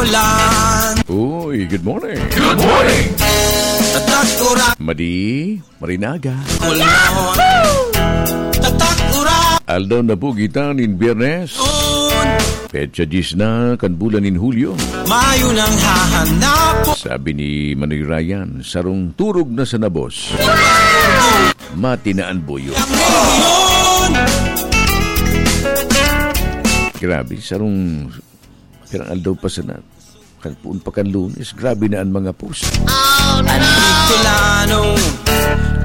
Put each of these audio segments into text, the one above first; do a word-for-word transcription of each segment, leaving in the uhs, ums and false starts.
Uy, good morning. Good morning. Tatak ura. Madi, marinaga. Kulon. Tatak ura. Aldaw na po kita nin Biyernes. Un. Petsa diyes na kan bulan nin Hulyo. Mayo nang hahanap. Sabi ni Manoy Ryan, "Sarong turog na sa nabos. Mati na an buyo." Ang rehiyon. Grabe, sarong pirang aldaw pa sana. Kan puon pa kan Lunes, grabe na an mga post. Andito lano,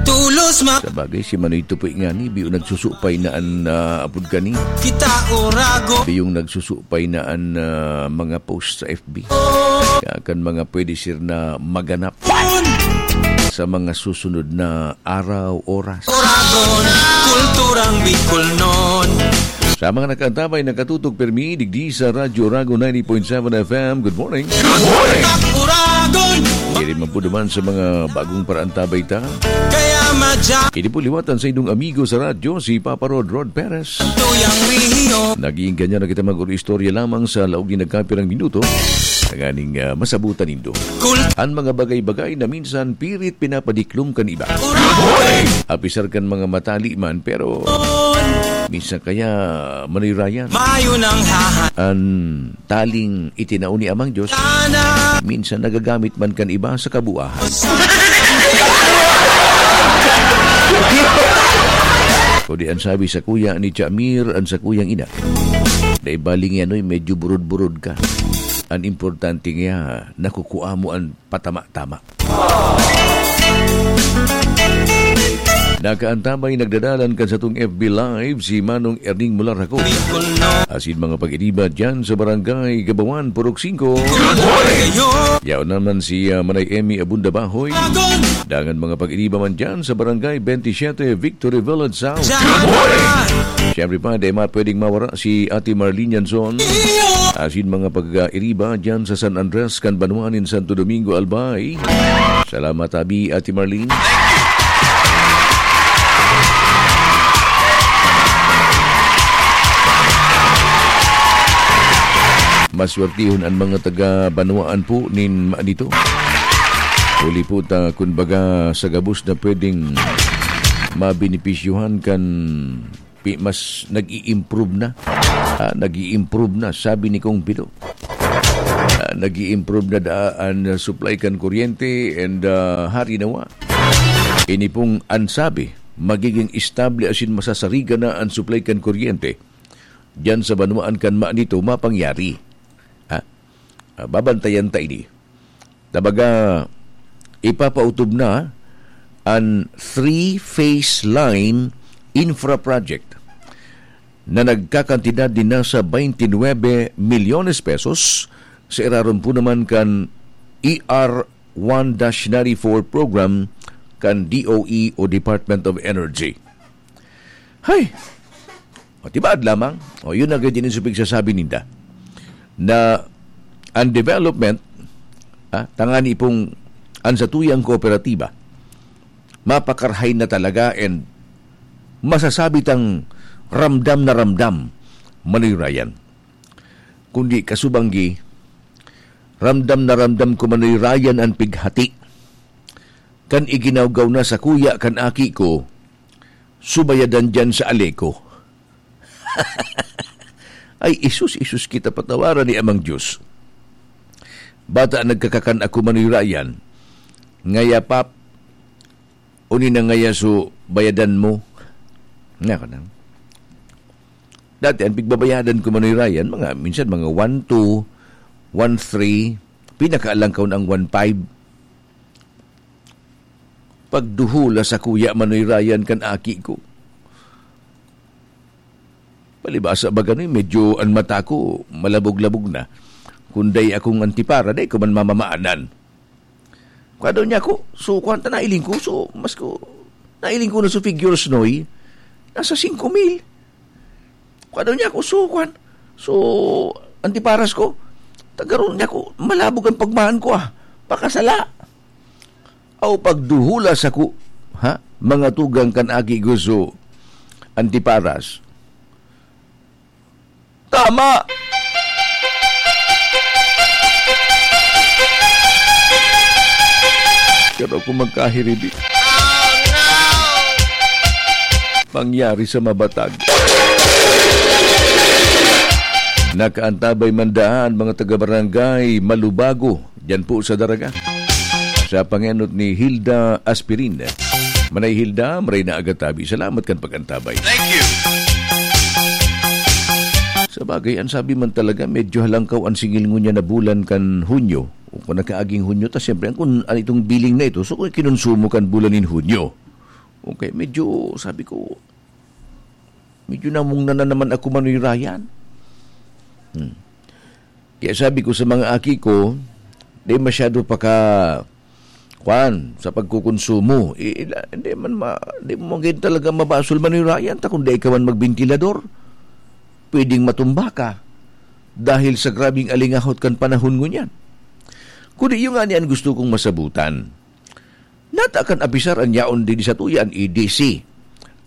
tulos ma- Sa bagay, si Manoy Tupoy ngani, biyo nagsusupay na an, ah, apod kani. Kita urago. Biyong nagsusupay na an, ah, mga post sa F B. Kaya kan mga pwede sir na maganap sa mga susunod na araw, oras. Uragon, kulturang Bicolnon. Sa mga nakaantabay, nakatutok pirmi, digdi sa Radyo Oragon ninety point seven F M. Good morning. Good morning. Uragon. Diri man po naman sa mga bagong paraantabay ta. Kaya madya. Ini po liwatan sa inyong amigo sa radyo, si Papa Rod, Rod Perez. Tuyang rihiyo. Naging ganyan na kita mag-istorya lamang sa laog ni nagkapirang minuto. Tanganing, ah, masabutan nindo. Kul- Ang mga bagay-bagay na minsan pirit pinapadiklom kan iba. Uragon. Apisar kan mga matali man, pero minsan kaya manirayan. Mayo nang haha- An taling itinao ni Amang Diyos, Sana. Minsan nagagamit man kan iba sa kabuahan. Kundi an sabi sa kuya ni Jamir, an sa kuyang ina, "Dai bali ngiyanoy, medyo burod-burod ka. An importante nga, nakukua mo an patama-tama." Nakaantabay, nagdadalan kan satong F B Live si Manong Erning Mularako. Asin mga pag-iriba dyan sa Barangay Gabawan, Purok singko. Yaon naman si, ah, Manay Emmy Abunda Bahoy. Dangan mga pag-iriba man dyan sa Barangay twenty-seven, Victory Village South. Siyempre pa, di ma-, pwedeng mawara si Ate Marlene Yanzon. Asin mga pag-iriba dyan sa San Andres, kan banwa nin Santo Domingo, Albay. Salamat, abi, Ate Marlene. Maswertihon an mga taga-banwaan po nin Manito. Huli po ta, kun baga, sa gabos na pwedeng mabenepisyohan kan pi-, mas nag-i-improve na. Ah, nag-i-improve na, sabi ni Kong Pido. Ah, nag-i-improve na daa an supply kan kuryente and, ah, hari nawa. Ini pong an sabi, magiging estable asin masasarigan na an supply kan kuryente diyan sa banwaan kan Manito mapangyari. Ha? Ah, babantayan ta ini. Tabaga, ipapautob na an three-phase line infra project na nagkakantidad din nasa twenty-nine milyones pesos sa irarom po naman kan E R one dash ninety-four program kan D O E o Department of Energy. Hay! O, tibaad lamang. O, yun na gayod din sa pigsasabi ninda, na ang development, ah, tangani pong ang satuyang kooperatiba, mapakarhay na talaga and masasabi tang ramdam na ramdam, Manoy Ryan. Kundi kasubanggi, ramdam na ramdam ko, Manoy Ryan, ang pighati kan iginawgaw na sakuya kan aki ko, subayadan diyan sa Aleco. Ay, isus, isus kita patawaran ni Amang Diyos. Bata nagkakakan ako, Manoy Ryan. Ngaya, Pap, uni na ngaya so bayadan mo. Nga ka nang. Dati, ang pigbabayadan ko, Manoy Ryan, mga, minsan mga one two, one three, pinakaalangkaw na ang one five. Pagduhula sakuya, Manoy Ryan, kan aki ko. Palibasa baga ni, medyo an mata ko, malabog-labog na. Kun dai akong antipara, dai ko man mamamaanan. Kadaw niya ako, so, kwan ta, nailing ko, so, mas ko, nailing ko na so figures, Noy. Nasa singko mil. Kadaw niya ako, so, kwan. So, antiparas ko. Tagaron niya ako, malabog ang pagmahan ko, ah. Pakasala. Aw, pagduhula sako, ha? Mga tugang kan aki ko, so, antiparas. Tama! Pero kung magkahiribi, pangyari sa mabatag. Nakaantabay man daan, mga taga-barangay Malubago, diyan po sa Daraga. Sa pangenot ni Hilda Aspirin. Manay Hilda, maray na agatabi. Salamat kan pag-antabay. Thank you. Sa bagay, ang sabi man talaga, medyo halangkaw ang singil ngunyan na bulan kan Hunyo. O kung nakaaging Hunyo, ta siyempre, ang kun, ano itong billing na ito, so kung kinonsumo kan bulan nin Hunyo. Okay, medyo, sabi ko, medyo namungna na naman ako, Manoy Ryan. Hmm. Kaya sabi ko sa mga aki ko, di masyado pa ka, kwan, sa pagkukonsumo. I-, ila-, hindi man ma-, hindi mo man talaga mabasol, Manoy Ryan, ta kung di ka man magbentilador, pwedeng matumba ka dahil sa grabing alingahot kan panahon ngunyan. Kundi iyo nga ni an gusto kong masabutan. Nata kan apisar an yaon digdi sa tuya an E D C,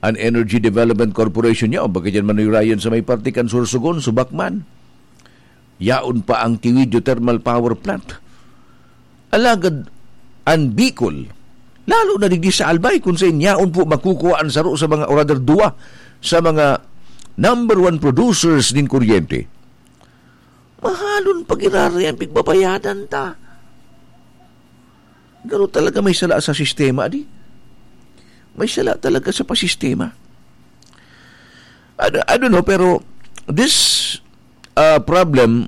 an Energy Development Corporation niya, o bagay dyan, Manoy Ryan, sa may parte kan Sorsogon, Subakman. Yaon pa ang Tiwi Geothermal Power Plant. Alagad an Bicol, lalo na digdi sa Albay, kung sa yaon po makukuha an saro sa mga, o rather, duwa sa mga number one producers nin kuryente, mahalon pa giraray an pigbabayadan ta. Garo talaga may sala sa sistema, di? May sala talaga sa pasistema. I don't, I don't know, pero this, uh, problem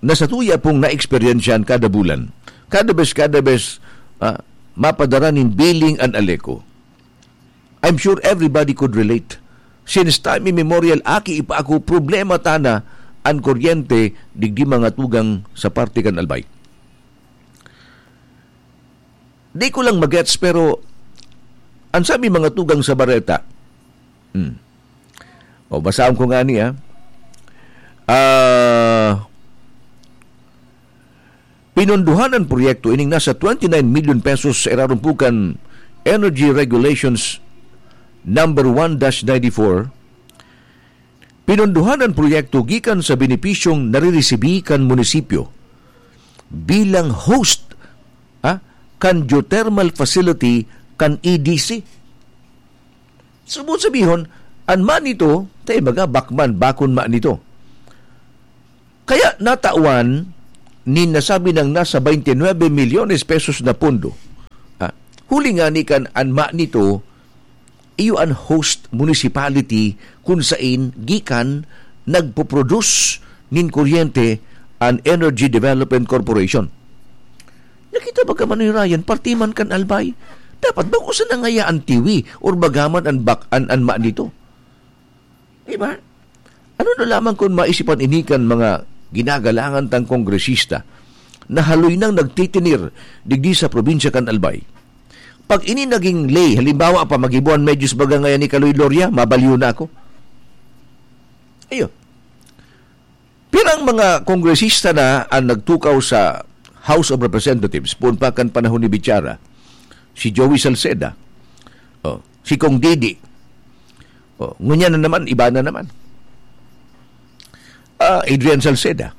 na sa tuya pong naeksperyensyahan kada bulan, kada bes, kada bes, ah, mapadara nin billing an Aleco. I'm sure everybody could relate. Since time immemorial, aki pa ako, problema tana an kuryente digdi mga tugang sa parte kan Albay. Di ko lang magets, pero ang sabi mga tugang sa bareta, hmm. O, basahon ko nga niya. Ah, pinondohan an proyekto ining nasa twenty-nine million pesos sa irarom po kan Energy Regulations number one dash ninety-four. Pinondohan an proyekto gikan sa benepisyong nariresibi kan munisipyo bilang host, ha, kan geothermal facility kan E D C. Subot sabihon, an ma nito, ta ibaga, bakman, bakon ma nito. Kaya natawan nin nasabi nang nasa twenty-nine milyones pesos na pondo. Ah, huli ngani kan an ma nito, iyo an host municipality kun sain gikan nagpo-produce nin kuryente an Energy Development Corporation. Nakita ba ka, Manoy Ryan, parte man kan Albay? Dapat bako sana ngaya an Tiwi or bagaman an bak-, an, an ma nito. Di ba? Ano na lamang kun maisipan ini kan mga ginagalangan tang kongresista na haloy nang nagtitinir digdi sa probinsya kan Albay? Pag ini naging ley, halimbawa pa, magibo an medyos baga ngayan ni Kaloy Gloria, mabaliw na ako. Ayun. Pirang mga kongresista na ang nagtukaw sa House of Representatives, poon pa kan panahon ni Bichara, si Joey Salceda, oh, si Cong Didi, oh, ngunyan na naman, iba na naman. Ah, Adrian Salceda.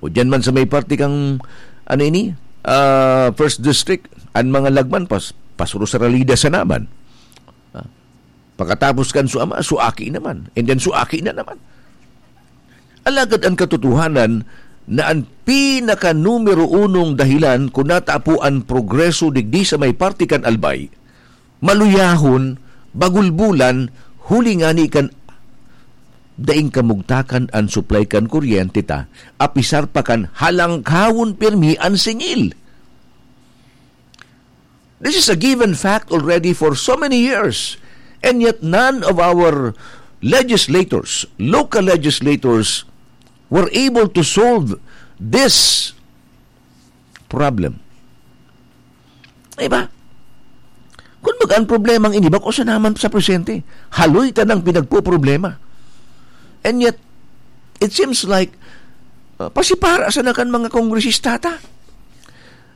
O diyan man sa may parte kang, ano ini, ah, First District, ang mga lagman, pas-, pasuro sa Ralida sa naman. Ah, pagkatapos kan su ama, su aki naman. And then su aki na naman. Alagad an katotohanan na an pinaka numero unong dahilan kun natapo an progreso digdi sa may parte kan Albay, maluyahon, bagulbulan, huli ngani kan daing kamugtakan an supply kan kuryente ta, apisar pa kan halangkawon pirmi an singil. This is a given fact already for so many years, and yet none of our legislators, local legislators, were able to solve this problem. Diba? Kung baga ang problema ang ini, bako sa naman sa presente. Haloy ta nang pinagpoproblema. And yet, it seems like, uh, pasipara sana kan mga kongresista ta.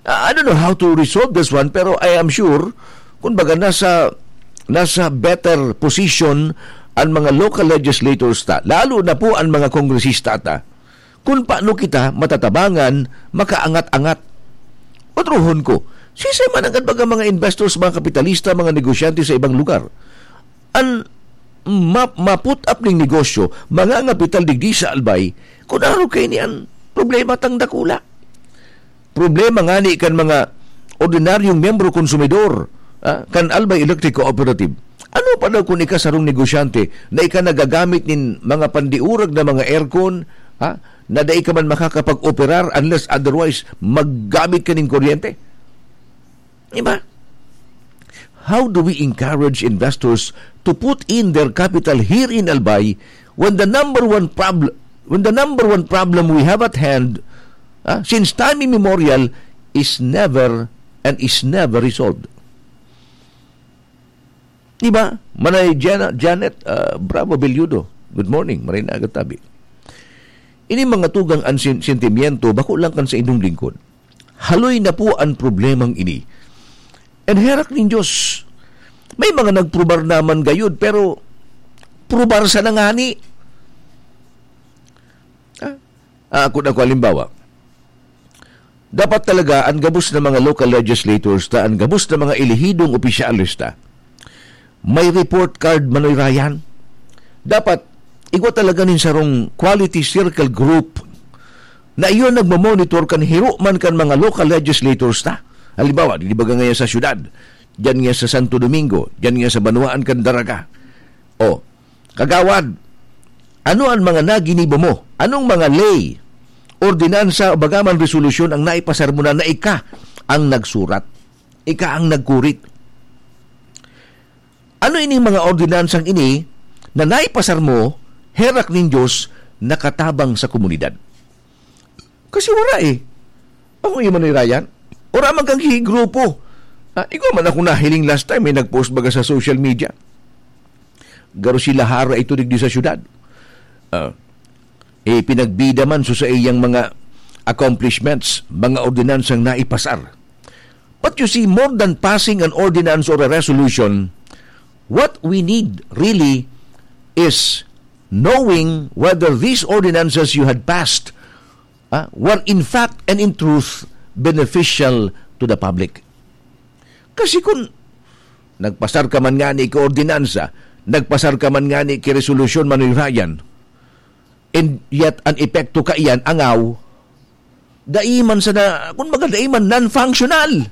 Uh, I don't know how to resolve this one, pero I am sure, kung baga nasa, nasa better position ang mga local legislators ta, lalo na po ang mga kongresista ta, kung paano kita matatabangan makaangat-angat. Otrohon ko, Sisay man ang baga mga investors, mga kapitalista, mga negosyante sa ibang lugar? An ma-, ma-put up ning negosyo, mga ngapital digdi sa Albay, kun ano kay ni an problema tang dakula. Problema ngani kan mga ordinaryong miyembro konsumidor, ah, kan Albay Electric Cooperative. Ano pa daw kung ika sarong negosyante na ika nagagamit nin mga pandiurag na mga aircon, ha? Na dai ka man makakapag-operar unless otherwise maggamit ka nin kuryente? Di ba? How do we encourage investors to put in their capital here in Albay when the number one prob-, when the number one problem we have at hand, ah, since time immemorial, is never and is never resolved? Di ba? Manay Jana-, Janet, ah, Bravo Belludo. Good morning, maray na aga tabi. Ini mga tugang an sen-, sentimiento, bako lang kan sa inyong lingkod. Haloy na po an problemang ini. And herak nin Diyos, may mga nagprobar naman gayud, pero probar sa nangani. Ah, ah, ako na ko, halimbawa, dapat talaga an gabos na mga local legislators ta, an gabos na mga elehidong opisyales ta, may report card, Manoy Ryan. Dapat, igwa talaga nin sarong quality circle group na iyon nagmamonitor kan hiro man kan mga local legislators ta. Halimbawa, di ba nga sa syudad, dyan nga sa Santo Domingo, dyan nga sa Banwaan kan Daraga. O, kagawad, ano ang mga naginibo mo? Anong mga ley, ordinansa o bagaman resolusyon ang naipasar mo na, na ika ang nagsurat? Ika ang nagkurit? Ano ining mga ordinansang ini na naipasar mo, herak nin Diyos, nakatabang sa komunidad? Kasi wala eh. Ako yung Manoy Ryan. Wala man kang grupo. Ah, igwa man ako nahiling last time, may nag-post baga sa social media. Garo si Lahara ito digdi sa syudad. Ah, eh, pinagbida man so sa iyang mga accomplishments, mga ordinansang naipasar. But you see, more than passing an ordinance or a resolution, what we need really is knowing whether these ordinances you had passed, ah, were in fact and in truth beneficial to the public. Kasi kung nagpasar ka man ngani ki ordinansa, nagpasar ka man ngani ki resolusyon, Manoy Ryan, and yet an epekto kaiyan angaw, dai man sana, kun baga, dai man, non-functional.